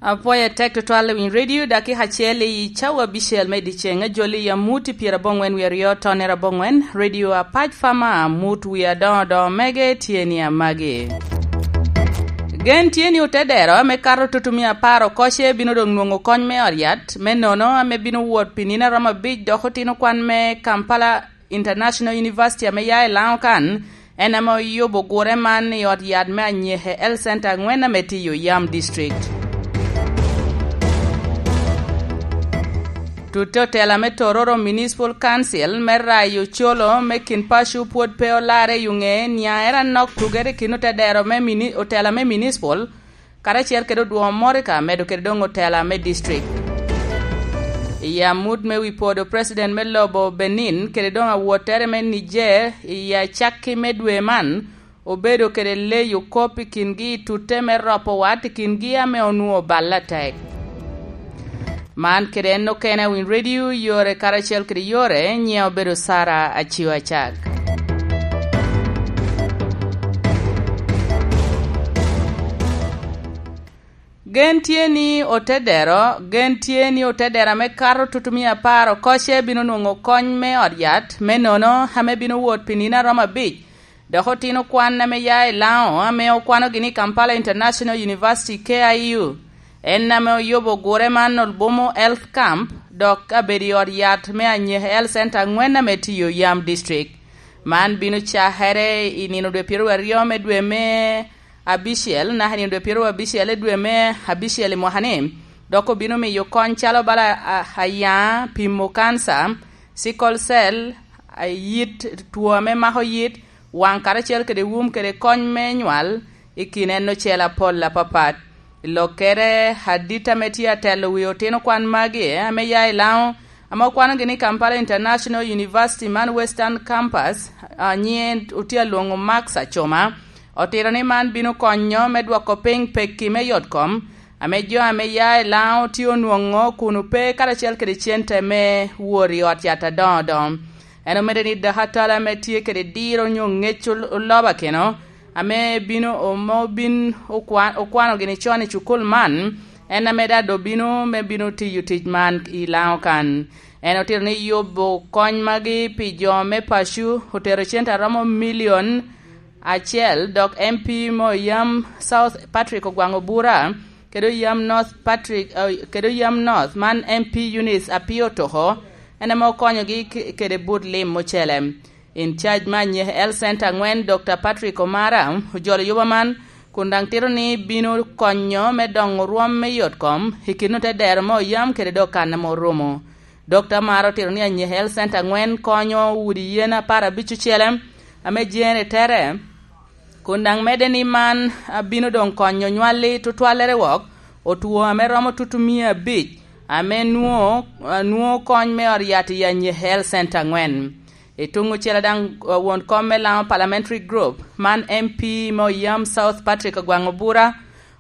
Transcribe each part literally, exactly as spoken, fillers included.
Apwoyo atek tutwal i winy redio, dakika acel i cawa abicel me dyeceŋ, ajoli i amut i pyeraboŋwen wie aryo tonere aboŋwen, redio apac fama, amut wie adoŋo doŋo mege tye ni amagi. Gen tye ni otedero ame kato tutumia apar okoce bino doŋ nwoŋo kony me ot yat, me nono ame bino wot pi nino aromo abic dok otino kwan me Kampala International University ame ya i Laŋo kan, en ame oyubo gure man i ot yat me Anyehe Health Center aŋwen ame tye i Oyam District. Tutte otela me Tororo Municipal Council me rayo colo me kin paco pwod pe olarre i oŋe niaŋere anok tugere i kin otedero me mini-, otela me municipal karacel kede odwoŋo Morika, medo kede doŋ otela me district. I amut me wi podo president me lobo Benin kede doŋ awottere me Niger i acakki me dwe man, obedo kede leyo kop i kingi i tutte me ropo wat i kingi ame onwoŋo balle atek. Man kede en okene a Winy Radio, yore karacel kede yore, nyiŋa obedo Sara Acio Acak. Gen tye ni otedero, gen tye ni otedero ame kato tutumia apar okoce bino nwoŋo kony me ot yat, me nono ame bino wot pi nino aromo abic, dok otino kwan ame ya i Laŋo ame okwanogi ni Kampala International University, K I U, en ame oyubo gure man Olbumo Health Camp, dok abedo i ot yat me Anyehe Health Center aŋwen ame tye i Oyam District. Man bino cakere i nino dwe pyeraryo me dwe me abicel, naka i nino dwe pyeraryo abicel i dwe me abicel i mwaka-ni, dok obino miyo kony calo bala a-, ayaŋa, pimo kanca, sickle cell, a-, yit, two ame mako yit, waŋ karacel kede wum kede kony me nywal i kin en ocel apol apapat. I lokkere, adit ame tye atelo wi otino kwan magi ame ya i Laŋo, ame okwanogi ni Kampala International University man Western Campus, a, nyiŋe otye alwoŋo Max Acoma, otito ni man bino konyo me dwoko piny pekki me yot kom, ame jo ame ya i Laŋo tye onwoŋo kun ope karacel kede cente me wot i ot yat adoŋo doŋo. En omedde ni dakatala ame tye kede diro onyo ŋec ol-, oloba keno, ame bino ome obin okwa-, okwano gini con i cukul man, en ame daŋ doŋ bino me bino tiyo tic man i Laŋo kan. En otito ni yubo kony magi pi jo me paco otero cente aromo milion acel, dok M P me Oyam South Patrick Ogwaŋ Obura, kede Oyam North Patrick, eh, kede Oyam North man M P Eunice Apio Toko, en ame okonyogi k-, kede but lim ocele. In charge me Anyehe Health Center aŋwen, Doctor Patrick Omara, ojolo yuba man, kun daŋ tito ni bino konyo me doŋo rwom me yot kom i kin otedero me Oyam kede dok kan ame orumo. Doctor Omara otito ni Anyehe Health Center aŋwen konyo udi yen apar abic ocele ame jere tere, kun daŋ medde ni man, a, bino doŋ konyo nywalli tutwallere wok, otwo ame romo tutumia abic, ame nwoŋo, a, nwoŋo kony me ot yat i Anyehe Health Center aŋwen. I tuŋ ocele daŋ, a, won kom me Laŋo Parliamentary Group, man M P me Oyam South Patrick Ogwaŋ Obura,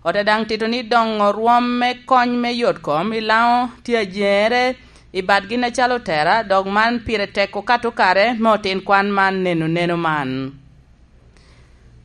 ote daŋ tito ni doŋo rwom me kony me yot kom i Laŋo tye ajeŋere i bad gin acalo otera, dok man pire tek okato kare me otin kwan man neno neno man.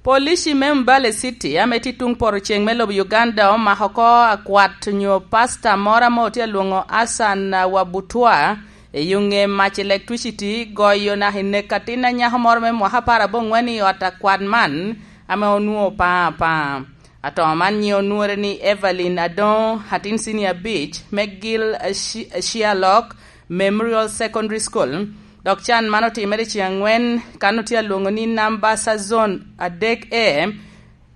Polici me Mbale City ame tye tuŋ poto ceŋ me lobo Uganda omako oko akwat onyo pasta moro ame otye alwoŋo Hassan Wabutua i yo ŋe mac electricity, goyo naka i nek atin anyako moro me mwaka apar aboŋwen i ot akwat man ame onwoŋo paŋo apaŋa. Atoo man nyiŋe onwoŋere ni Evelyn Adoŋo, atin cinia abic, me Gil Ashi-, Ashialok Memorial Secondary School, dok can man otimere ceŋ aŋwen kan otye alwoŋo ni Nambasa Zone adek A,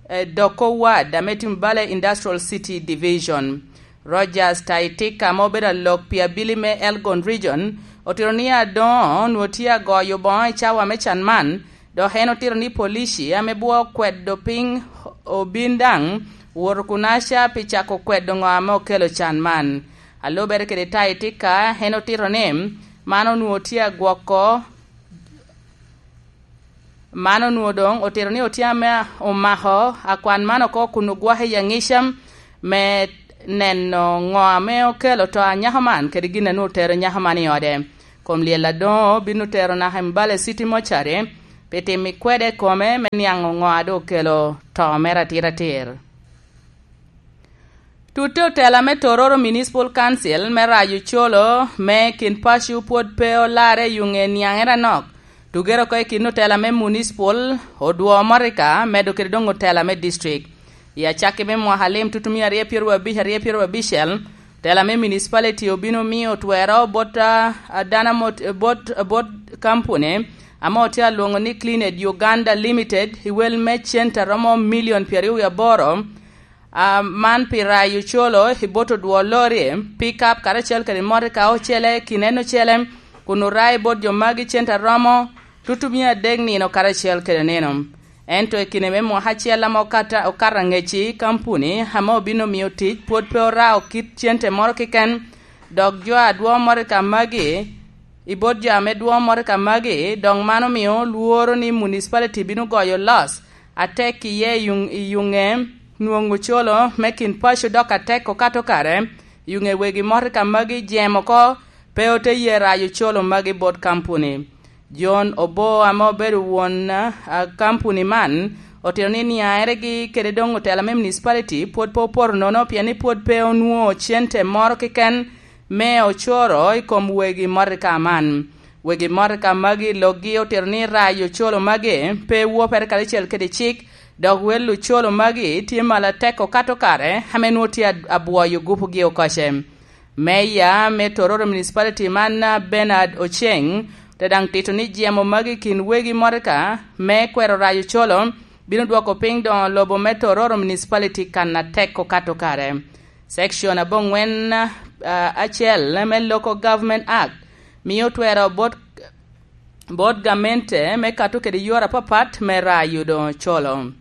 eh, Doko Ward, ame tye Mbale Industrial City Division. Rogers Taitika, ame obedo alok pi abili me Elgon Region, otito ni Adoŋo onwoŋo tye agoyo boŋo i cawa me can man, dok en otito ni polici ame bwo okwedo piny obin daŋ woto kunaca pi cako kwedo ŋo ame okelo can man. A lubere kede Taitika, en otito ni man onwoŋo tye agwoko, man onwoŋo doŋ otito ni otye ame omako akwan man oko kun ogwoko i aŋica me neno ŋo ame okelo to a nyako man kede gin a nwoŋo otero nyako man i ode. Kom lyel Adoŋo bino tero naka i Mbale City Mortuary pi timo i kwede kome me niaŋo ŋo a doŋ okelo to mere atiratir. Tutte otela me Tororo Municipal Council me rayo colo me kin paco pwod pe olarre i yuŋe niaŋere anok. Tugere oko i kin otela me Municipal odwo Morika medo kede doŋ otela me district. I acakki me mwaka lim tutumia aryo pyeraryo abic, aryo pyeraryo abicel, otela me municipality obino miyo twero bot, a, a dano mot-, bot, bot kampuni ame otye alwoŋo ni Clean Ed Uganda Limited i wel me cente a romo milion pyeraryo wie aboro, a, man pi rayo colo i bot odwo lori, pickup karacel kede motoka ocele, kinene ocele, kun orayo bot jo magi cente a romo tutumia adek nino karacel kede nino. Ento i kine me mwaka acel ame okata-, okato aŋec i kampuni ame obino miyo tic pwod pe orao kit cente moro keken, dok jo a dwo motoka magi i bot jo ame dwo motoka magi, dok man omio lworo ni municipality bino goyo loss atek iye i yuŋ-, i yuŋe nwoŋo colo me kin paco dok atek okato kare, yuŋe wegi motoka magi jem oko, pe ote ye rayo colo magi bot kampuni. John Obo ame obedo won, a, kampuni man, otito ni niaeregi kede doŋ otela me municipality pwod pe opoto nono, pien ni pwod pe onwoŋo cente moro keken me ocoro i kom wegi motoka man. Wegi motoka magi loggi otito ni rayo colo magi pe wopere karacel kede cik, dok wel ocolo magi tye malo atek okato kare ame nwoŋo tye ad-, abwoyo gupugi okoce. Meya me Tororo Municipality man, Bernard Oceng, te daŋ tito ni jemo magi kin wegi motoka me kwero rayo colo bino dwoko piny doŋo lobo me Tororo Municipality kan atek okato kare. Section aboŋwen, a, acel me Local Government Act mio twero bot, bot gamente me kato kede yore apapat me rayo doŋo colo.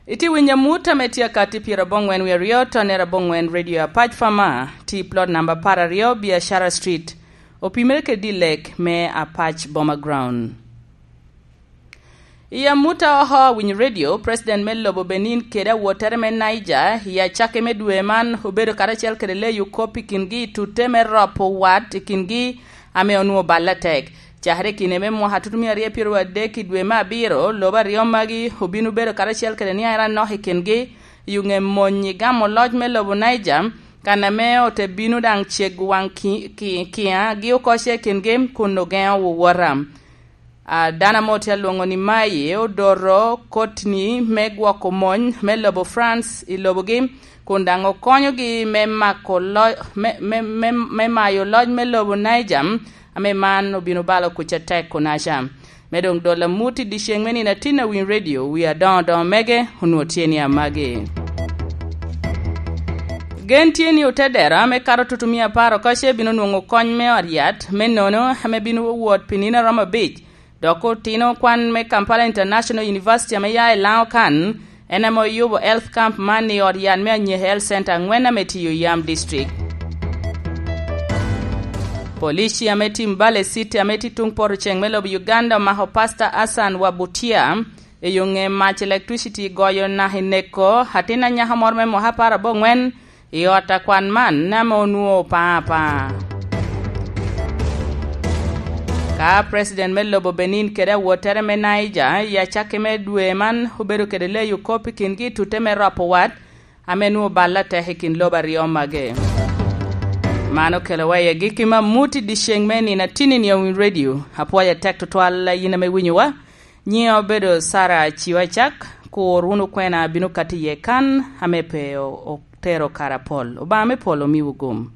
Itye winyo amut ame tye akatti pyeraboŋwen wie aryo, tonere aboŋwen Radio Apac Fama, tye i plot namba apar aryo, Biashara Street, opimere kede dilek me Apac Boma Ground. I amut a oko awinyo radio, President me lobo Benin kede awottere me Niger, i acakki me dwe man, obedo karacel kede leyo kop i kingi i tutte me ropo wat i kingi ame onwoŋo balle atek. Cakere i kine me mwaka tutumia aryo pyeraryo adek i dwe me abiro, lobo aryo magi obino bedo karacel kede niaŋ anok i kingi, i oŋe mony i gamo loc me lobo Niger, kan ame ote bino daŋ cego waŋ ki-, ki-, kiŋa gi oko ce i kingi kun ogeŋo wowota. A, dano ame otye alwoŋo ni Mayi odoto koti-ni me gwoko mony me lobo France i lobogi, kun daŋ okonyogi me mako lo-, me, me, me, me mayo loc me lobo Niger, ame man obino balo kuc atek kunaca. Me doŋ dolo amut i dyeceŋ me nino atin a Winy Radio, wi adoŋo doŋo mege onwoŋo tye ni amagi. Gen tye ni otedero ame kato tutumia apar oko ce bino nwoŋo kony me ot yat, me nono ame bino wot pi nino a romo abic, dok otino kwan me Kampala International University ame ya i Laŋo kan, en ame oyubo health camp man i ot yat me Anyehe Health Center aŋwen ame tiyo i Yam District. Polici ame tye i Mbale City ame tye tuŋ poto ceŋ me lobo Uganda omako Pastor Hassan Wabutia, i oŋe mac electricity goyo naka i neko atin anyaka moro me mwaka apar aboŋwen i ot akwan man ame onwoŋo opa apa. Ka President me lobo Benin kede awottere me Niger i acakki me dwe man obedo kede leyo kop i kingi i tutte me ropo wat, ame nwoŋo balle atek i kin lobo aryo magi. Man okelowa i agikki me amut i dyeceŋ me nino atin i Winy Radio. Apwoyo atek tutwal yin ame winyowa. Nyiŋa obedo Sara Ciwa Cak, kur wunu kwena abino kati iye kan, ame pe o-, otero kara pol. Obaŋa me pol omiwu gum.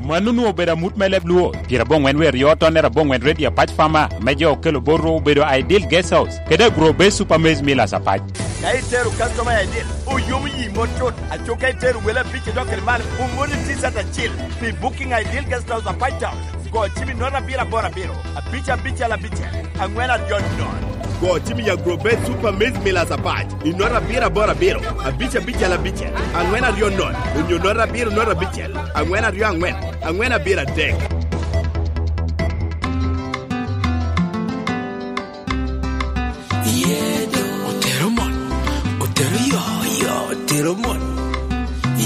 Mano onwoŋo obedo amut me leb Luo, pyeraboŋwen wie aryo, tonere aboŋwen, Radio Apac Fama, me jo okelo bot ru obedo Ideal Guest House, kede Agro Base Super Maize Millers Apac. Ka itero customer Ideal, oyomo yi mot cut, aco ka itero wele abic idok kede malo, omoni T-shirt acil pi booking Ideal Guest House Apac Town. Go cim i note abiro aboro abiro, abic abicel abicel, aŋwen aryo nono. Go cim i Agro Base Super Maize Millers Apac i note abiro aboro abiro, abic abicel abicel, aŋwen aryo nono, onyo note abiro note abicel, aŋwen aryo aŋwen, aŋwen abiro adek. Otero mon, otero yo, yo, otero mon.